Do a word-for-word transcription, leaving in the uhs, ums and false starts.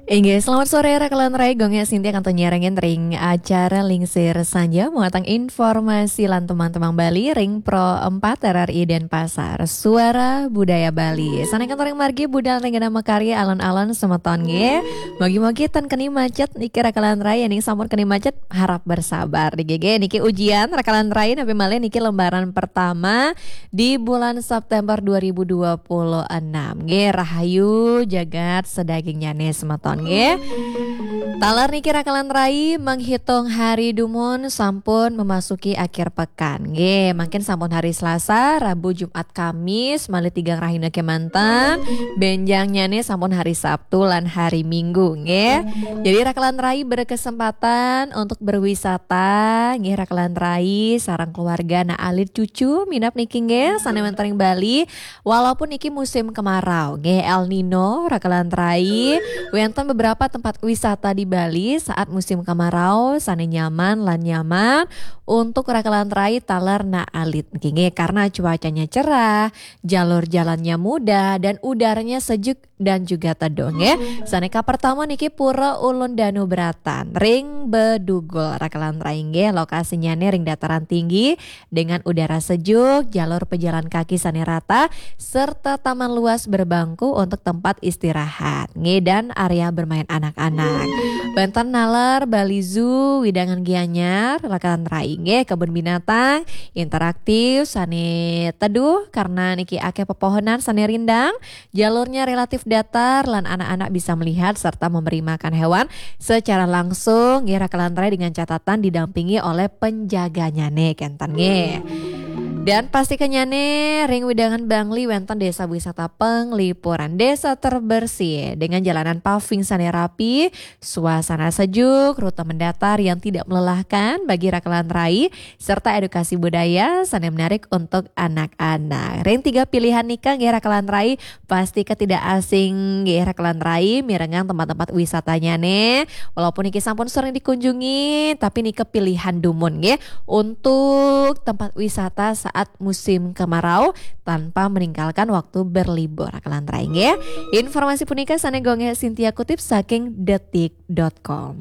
Inggih, selamat sore, Raka lan Rai. Gong Sintia kantun nyarengin ring acara Lingsir Sanja, muatan informasi lan teman-teman Bali ring Pro empat R R I Denpasar, Suara Budaya Bali. Sane kantun ring margi budal ring genah makarya alon-alon semeton nggih. Mogi-mogi tan keni macet niki, Raka lan Rai, yen sampun keni macet harap bersabar. Nggih, nggih, niki ujian, Raka lan Rai, napi malih niki lembaran pertama di bulan September dua ribu dua puluh enam. Nggih, rahayu jagat sadagingnyane semeton nggih. Taler niki, Raka lan Rai, menghitung hari dumun sampun memasuki akhir pekan. Nggih, mangkin sampun hari Selasa, Rabu, Jumat, Kamis, malih tigang rahina kemanten. Benjangnyane sampun hari Sabtu lan hari Minggu nggih. Jadi, Raka lan Rai berkesempatan untuk berwisata nggih, Raka lan Rai, sareng keluarga, anak alit, cucu minab niki nggih, sane wenten ring Bali. Walaupun niki musim kemarau nggih, El Nino, Raka lan Rai, wenten beberapa tempat wisata di Bali saat musim kemarau sane nyaman lan nyaman untuk Raka lan Rai taler anak alit niki nggih, karena cuacanya cerah, jalur jalannya mudah, dan udaranya sejuk dan juga teduh nggih. Sane kapertama niki Pura Ulun Danu Bratan ring Bedugul, Raka lan Rai nggih. Lokasinyane ring dataran tinggi dengan udara sejuk, jalur pejalan kaki sane rata, serta taman luas berbangku untuk tempat istirahat nggih, dan area bermain anak-anak. Wenten naler Bali Zoo, wewidangan Gianyar, Raka lan Rai nggih, kebun binatang interaktif sane teduh karena niki akeh pepohonan sane rindang, jalurnya relatif datar lan anak-anak bisa melihat serta memberi makan hewan secara langsung nggih, Raka lan Rai, dengan catatan didampingi oleh penjaganyane kenten nggih. Dan pastikanyane ring wewidangan Bangli wenten desa wisata Penglipuran, desa terbersih dengan jalanan paving sane rapi, suasana sejuk, rute mendatar yang tidak melelahkan bagi Raka lan Rai, serta edukasi budaya sane menarik untuk anak-anak. Ring tiga pilihan nika nggih, Raka lan Rai, pastika tidak asing nggih, Raka lan Rai, mirengang tempat-tempat wisatanyane. Walaupun niki sampun sering dikunjungi, tapi nika pilihan dumun nggih untuk tempat wisata saat musim kemarau tanpa meninggalkan waktu berlibur, Raka lan Rai nggih. Informasi punika sane Gong Sintia kutip saking detik dot com.